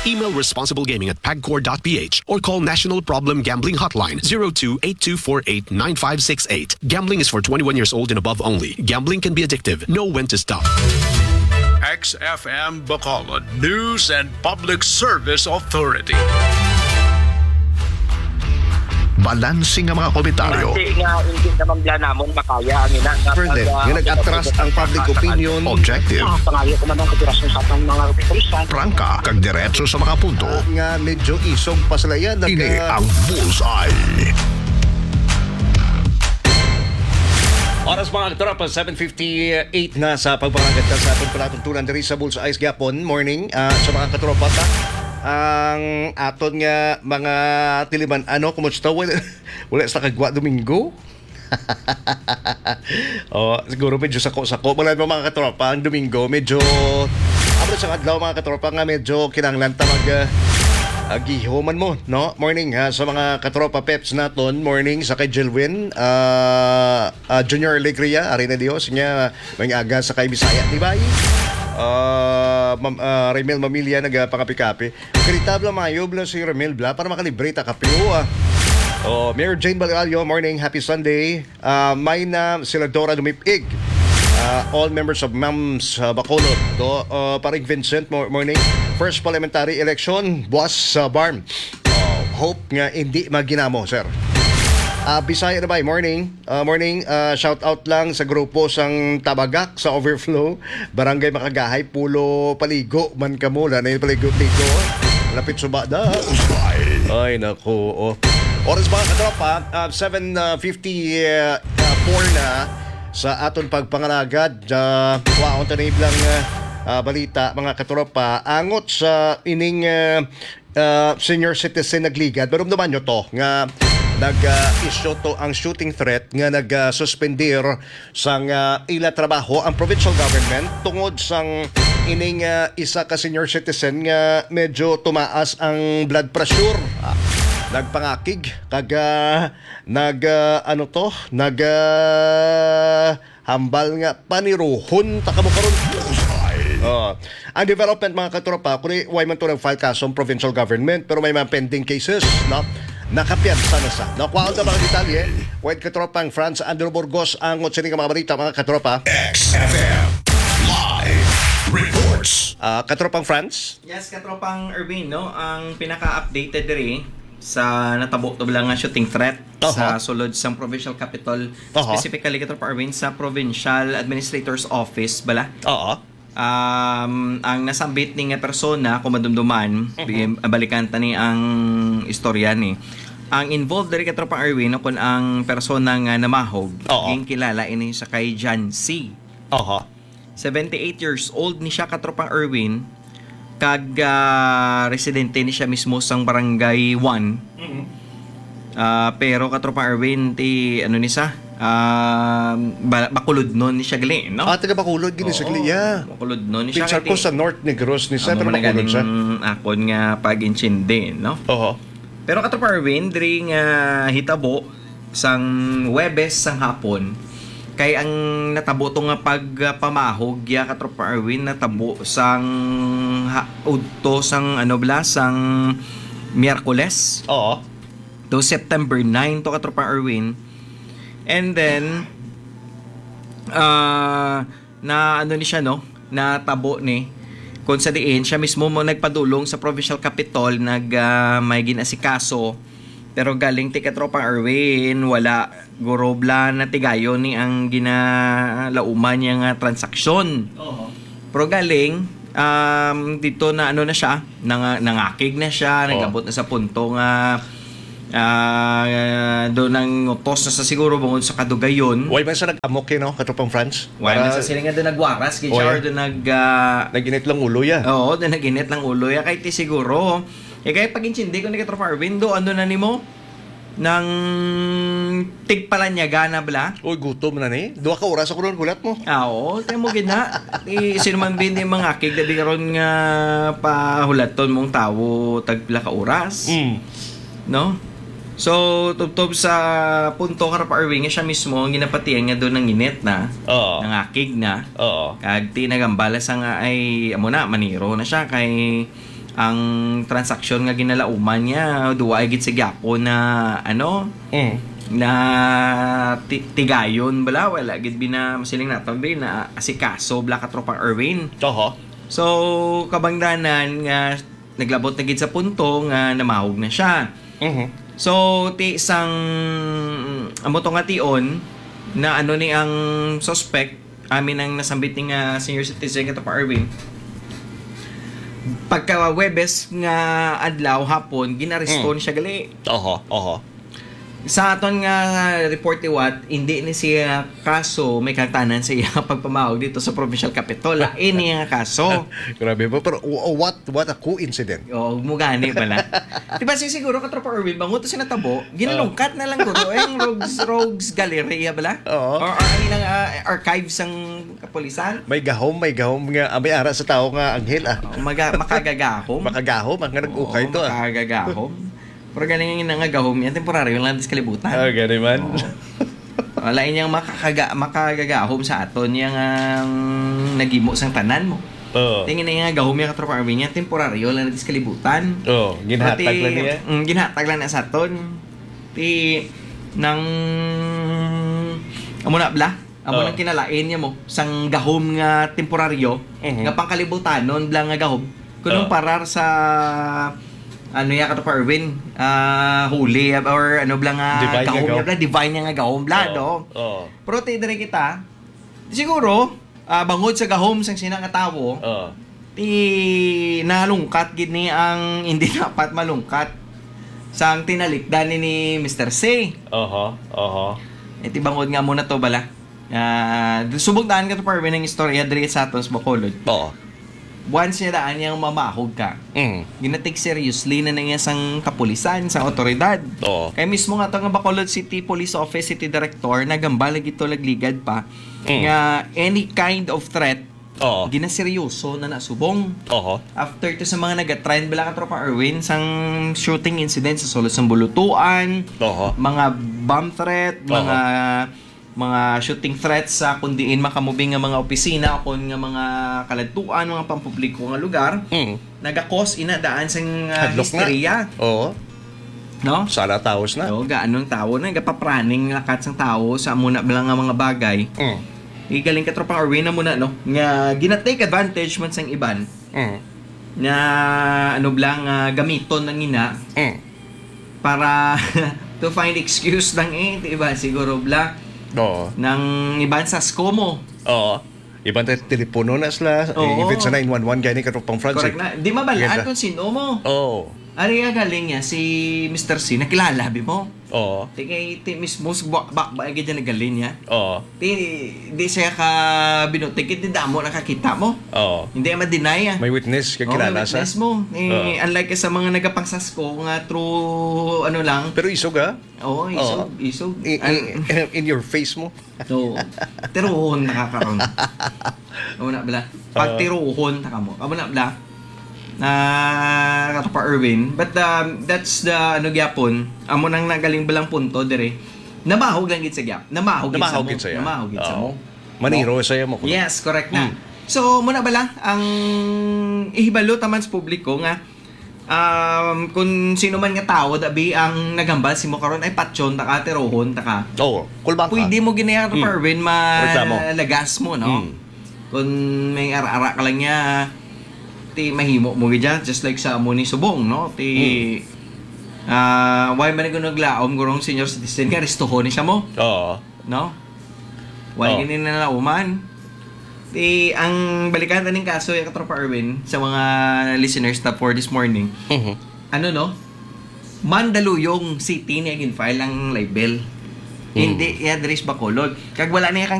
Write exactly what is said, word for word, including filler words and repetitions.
Email responsiblegaming at pagcor dot p h or call National Problem Gambling Hotline, zero two eight two four eight nine five six eight. Gambling is for twenty-one years old and above only. Gambling can be addictive. Know when to stop. X F M Bacolod News and Public Service Authority. Balanse nga mga komentaryo. Hindi nga, hindi naman bala namon makaya ang ina nga Further, pag, ah, nga nag-atras ang public opinion. Objective. Ah, pangayo ko man ang kooperasyon sa atong mga kapulisan. Prangka, kag diretso sa mga punto. Ah, nga medyo isog pa sila yan. Ini ang Bullseye. Oras, mga katropa, seven fifty-eight na sa pagpangagat sa atong palatuntunan diri sa Bullseye gihapon. Morning, ah, sa mga katropa ta. Ang aton nga mga tiliman, ano, kumusta? Wala, wala sa kagwa Domingo? Oh, siguro medyo sako-sako. Wala mo, mga katropa, ang Domingo, medyo, abot sa adlaw, mga katropa, nga medyo kinahanglan ta mag, ah, ah, gihuman mo, no? Morning, ha, sa mga katropa peps naton. Morning sa kay Jilwin, ah, ah, Junior Alegria, ari na Dios, nga may aga sa kay Bisaya, di ba? Ah, Mam-, ah, Remel Mamilya, nagapangapikapi. Kalitab lang, mayo bala si Remel bala para makalibre ta kape, oh, ah. Oh, Mayor Jane Balialio, morning, happy Sunday. Ah, may na sila Dora Dumipig. Ah, all members of MAMS, ah, Bacolod. Do, ah, Paring Vincent, mo-, morning. First parliamentary election, buwas sa BARMM. Oh, hope nga hindi maginamo, sir. Ah, Bisaya na ba? Morning. Ah, morning. Ah, shout out lang sa grupo sang Tabagak sa Overflow, Barangay Makagahay, Pulo Paligo man kamo, lanay paligo-ligo. Lapit subada. Ay, naku, oh. Oras, mga katropa, ah, seven fifty, ah, ah, four na sa aton pagpangalagad. Ah, kwaon ta na iblang, ah, ah, balita, mga katropa. Angot sa ining, ah, ah, senior citizen nagligad. Pero naman nyo to, nga nag, ah, issue to ang shooting threat nga nag, ah, suspendir sang, ah, ila trabaho ang provincial government tungod sang ining, ah, isa ka senior citizen nga medyo tumaas ang blood pressure. Ah, nagpangakig kag, ah, nag, ah, ano to? Nag, ah, hambal nga paniruhon ta kamo karon. Bullseye. Oh. Ang development, mga katropa, kung way man to nag-file kaso ang provincial government, pero may mga pending cases, no? Nakapiyansa na sa. Nakuha ang mga detalye. Wait, katropang Franz Andrew Burgos, ang sini nga mga balita, mga katropa. X F M Live Reports. Ah, katropang Franz? Yes, katropang Erwin, no? Ang pinaka-updated diri sa natabo to lang nga shooting threat Aha. sa sulod sang provincial capital, Aha. specifically, katropang Erwin, sa provincial administrator's office bala. Oo. Um, ang nasambit ni nga persona, kung madumduman, Mhm. bi-, balikan ta ni ang istorya ni. Ang involved diri, katropang Erwin, no, kung ang persona nga namahog, Oo. ginkilala ini sa kay John C. Aha. Seventy-eight years old ni siya, katropang Erwin, kag, ah, residente ni siya mismo sang Barangay One. Mhm. Ah, pero, katropang Erwin, ti, ano ni siya, ah, ba-, Bacolodnon ni siya gali, no? Ah, taga Bacolod gini siya Oo, gali, yeah. Bacolodnon ni siya, Pinsar ko kay ti-, sa North Negros ni siya, amo pero man Bacolod siya. ganing akon nga pag-intindi, no? Oho. Pero, katropang Erwin, diri nga hitabo sang Huwebes sang hapon, kay ang natabo to nga pagpamahog, ya, katropang Erwin, natabo sang ha-, udto sang, ano bala, sang Miyerkules. Oo. To September nine to, katropang Erwin. And then, ah, na ano ni siya, no? Natabo ni. Kung sa diin, siya mismo mo nagpadulong sa provincial capitol, nag, ah, may ginasikaso. Pero galing ti katropang Erwin, wala guro bala natigayon ni ang ginalauman niya nga transaksyon. Oo. Pero galing, um, dito na ano na siya, nang-, nangakig na siya, Oo. nagabot na sa punto nga, ah, do nang utos na sa siguro bungod sa kadugayon. Why man sa nag-amok, eh, no, katropang Franz? Why man Para sa sila nga do nagwaras, gid Oh, siya, yeah. or do nag, ah, Nag-init lang ulo, ya. Oo, do nag-init lang ulo, ya. Kay ti siguro, eh, kaya pag-intindi ko ni katropang Erwin, do, ano na nimo? Nang tigpalanyaga na bala? Uy, gutom na ni. Duha ka oras ako ron, hulat mo. Ah, oo, tayo mo gid na. Ti, sino man bin ni mangakig, dabi karon nga pahulaton mong tawo tagpila ka oras? Mm. No? So, tubtob sa punto, katropang Erwin, nga siya mismo ang ginapatihan nga do nanginit na, Oo. nangakig na. Oo. Kag ti nagambala sa nga ay, amo na, maniro na siya kay ang transaksyon nga ginalauman niya, duwa ay gid sa gyapon na, ano, Mm. na ti-, tigayon bala, wala gid bina-, masiling naton, bi, na asikaso bala, Katropang Erwin. Oho. So, kabangdanan nga naglabot na gid sa punto nga namahog na siya. Mhm. So, ti sang, amo to nga tion na ano ni ang suspect, amin ang nasambit ni nga senior citizen, Katropang Erwin. Pagka Huwebes nga adlaw hapon, ginaresto Mm. ni siya gali. Oho, oho. Sa aton nga report liwat, hindi ni siya kaso may kahangtanan sa iya pagpamahog dito sa provincial capitol. Lain niya nga kaso. Grabe ba? Pero wha-, what, what a coincidence. Oo, mo gani pala. Di ba, si siguro, Katropa Erwin, bangod to siya natabo, ginalungkat na lang guro. Ay, yung Rogues, Rogues Galleria bala? Oo. Or, or ang ilang, ah, archives ang kapulisan? May gahom, may gahom nga, ah, may ara sa tao nga anghel, ah. Oh, maga-, makagagahom. Makagahom, ang nga nag-ukay Oo, to, ah. Makagagahom. Pero galing yung nga gahom yan, temporaryo lang sa kalibutan. Ah, gani man. Oo. Wala inyang makakaga-, makagagahom sa aton, yang ang nagimo sang tanan mo. Oo. Tingin na nga gahom yung Katropa Arvin yan, temporaryo lang natin sa kalibutan. Oo, ginhatag Pati, lang niya. Mm, ginhatag lang na sa aton. Ti, nang, amo na bla? Amo Oh. nang kinalain niya mo, sang gahom nga temporaryo, Mhm. nga pangkalibutanon bla nga gahom. Kunong Oh. parar sa, ano ya, Katropa Erwin, ah, holy, or ano bla nga Divine nga gahom gahom. ya bla, divine nga nga gahom bla, Oh. no? Oh. Pero ti diri kita, siguro, ah, bangod sa gahom sang sina nga tawo, Oh. ti nalungkat gid ni ang hindi dapat malungkat sang tinalikdan ni, ni Mister C. Oho, oho. Eh, ti bangod nga mo na to bala. Ah, subong daan ka to, Parvin, ang istorya diri sa aton sa Bacolod. Oo. Once niya daan yang mamahog ka, Mm. ginatik seriously na niya sang kapulisan, sang otoridad. Oo. Kay mismo nga to nga Bacolod City Police Office, City Director, nagambal lagi to lagligad pa Mm. nga any kind of threat, Oo. ginaseryoso na nasubong. Oho. After to sa mga nagatrend bala, Katropa Erwin, sang shooting incident sa sulod sang Bulutuan, Oho. mga bomb threat, Oho. mga mga shooting threats sa kung diin makamubing nga mga opisina o kung nga mga kaladtuan, mga pampubliko nga lugar, Mm. nagakos ina daan sang, ah, Hadlok na. histerya. Oo. No? Sala taos na. No, gaanong tawo na, gapapraning lakat sang tawo sa amo na lang nga mga bagay. Mm. Igaling ka, Tropa Arwin, na muna, no? Nga gina-take advantage man sang iban. Mm. Nga, ano bala, nga gamiton ng ina. Mm. Para to find excuse lang eh, di ba? Siguro bla. Oo. Nang iban sa SCO mo. Oo. Iban tayo telepono na sila. Oo. Even sa nine one one, gani ka, Tropang Francis. Correct na. Di mabalaan Ganda. kung sino mo. Oo. Ari nga galing niya, si Mister C, nakilala, bi mo? Oo. Di kay, ti mismo, sa ba, ba, ba, gid niya nagaling niya. Oo. Di, di siya ka binutik, di damo nakakita mo. Oo. Hindi ma-deny, ah. May witness, Oo, kakilala may sa witness mo. Eh, Oo. unlike sa mga nagapangsasko nga through, ano lang. Pero isog, ah? Oo, isog, Oo. isog. I-, An- i-, in your face mo. Oo. Tiruhon na ka karon. Amo na bala. Oo. Pagtiruhon na ka mo. Amo na bala. Na Katopa Erwin. But, um, that's the, ano, gyapon. Amo nang nagaling balang punto dire. Namahog lang gid sa gyap. Namahog gid sa Namahog mo. gid sa iya. Namahog gid sa Oo. mo. Maniro No? sa iya mo, kuno. Yes, correct na. Mm. So, muna bala, ang ihibalo taman sa publiko nga, um, kung sino man nga tao, dabi ang naghambal simo karon, ay patyon ta ka, tirohon ta ka. Oo, kulbang ka. Pwede mo gini, Mm. Parwin, Reklamo. malagas mo, no? Mm. Kung may ara-ara ka lang niya, ti mahimo mo gid dyan, just like sa amo ni Subong, no? Ti, Mm. ah, why man ko naglaom, gurong senior citizen nga, restohon ni siya mo? Oo. No? Wala Oh. gini na nauman. Di, ang balikan ta ning kaso, ya Katropa Erwin, sa mga listeners ta for this morning. Mhm. Ano, no? Mandaluyong City niya gin-file ang libel. Hmm. Hindi, ya, diri sa Bacolod. Kag wala niya kang